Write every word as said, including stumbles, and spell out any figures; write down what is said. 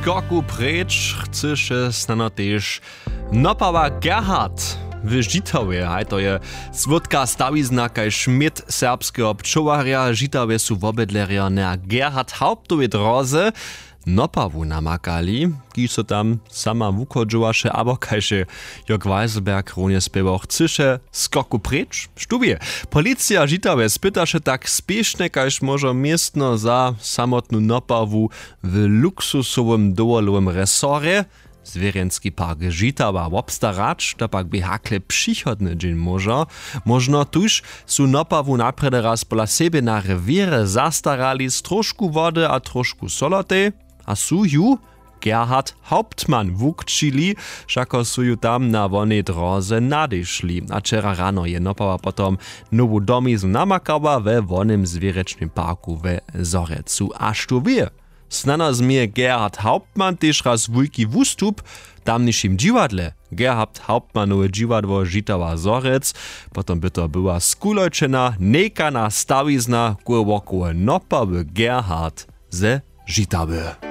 skoku preč chcyše snano tež nopała Gerhard w Žitawje. Haj, to je słódka stawizna kaž měd serbskeho pčołarja. Žitawje su wobydlerjo na Gerhard Hauptowej dróze nopawu namakali, kiž so tam sama wuchodźowaše, abo kaž je Jörg Weiselberg runje spěwał, chcyše skoku preč. Štó wě, policija Žitawje spytaše tak spěšnje kaž móžo městno za samotnu nopawu w luksusowym dowolowym resorje. Zwěrjenski park Žitawa wobstarać, to pak bě hakle přichodny dźeń móžo. Móžno tuž su nopawu naprjedy raz pola sebje na rewěrje zastarali z tróšku wody a tróšku solotej a su ju Gerhard Hauptmann wukćili, wšako su ju tam na wonej dróze nadešli. A wčera rano je nopawa potom nowu domiznu namakała we wonym zwěrječnym parku we Zhorjelcu. A štó wě, snano změje Gerhard Hauptmann tež raz wulki wustup w tamnišim dźiwadle. Gerhard Hauptmannowe dźiwadło Žitawa Zhorjelc. Potom by to była skulojčena, njejka na stawizna kółwokołe nopawy Gerhard ze Žitawy.